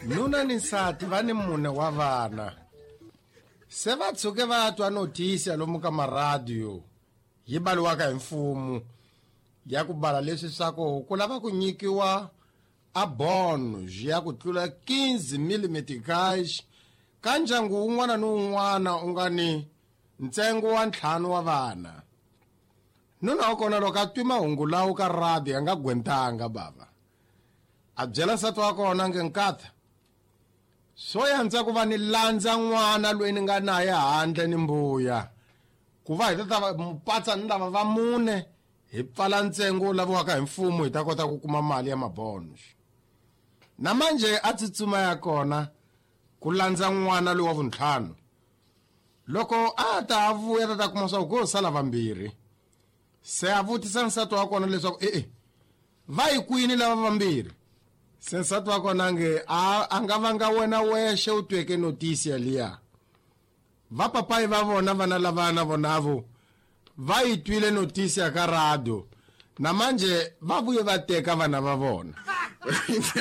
Nuna ni nsati va ni mune wa vana. Se va tshuke va twa notisi ya lomu ka maradiyo yi baliwaka hi mfumo ya ku bala leswi swa ku ku lava ku nyikiwa a bonus ya ku tlula 15 meticais ka ndyangu wun'wana ni wun'wana u nga ni ntsengo wa ntlhanu wa vana. Nuna wa kona loko a twi mahungu lawo ka radio a nga gwentanga bava. A byela nsati wa kona nge nkatha swo yandza ku va ni landza n'wana loyi ni nga naye handle ni mbuya ku va hi ta ta mupatsa ni lava va mune hi pfala ntsengo wu laviwaka hi mfumo hi ta kota ku kuma mali ya mabonus. Na manje a tsutsuma ya kona ku landza n'wana loyi wa vuntlhanu. Loko a ta a vuya ta ta kuma swa ku ko sala vambirhi. Se a vutisa nsati wa kona leswaku e-e va yi kwini lava vambirhi. Se nsati wa kona nge a a nga vanga wena wexe u tweke notisi yaliya. Va papayi va vona vana lavana vonavo va yi twile notisi ya ka radio. Na manje va vuye va teka vana va vona.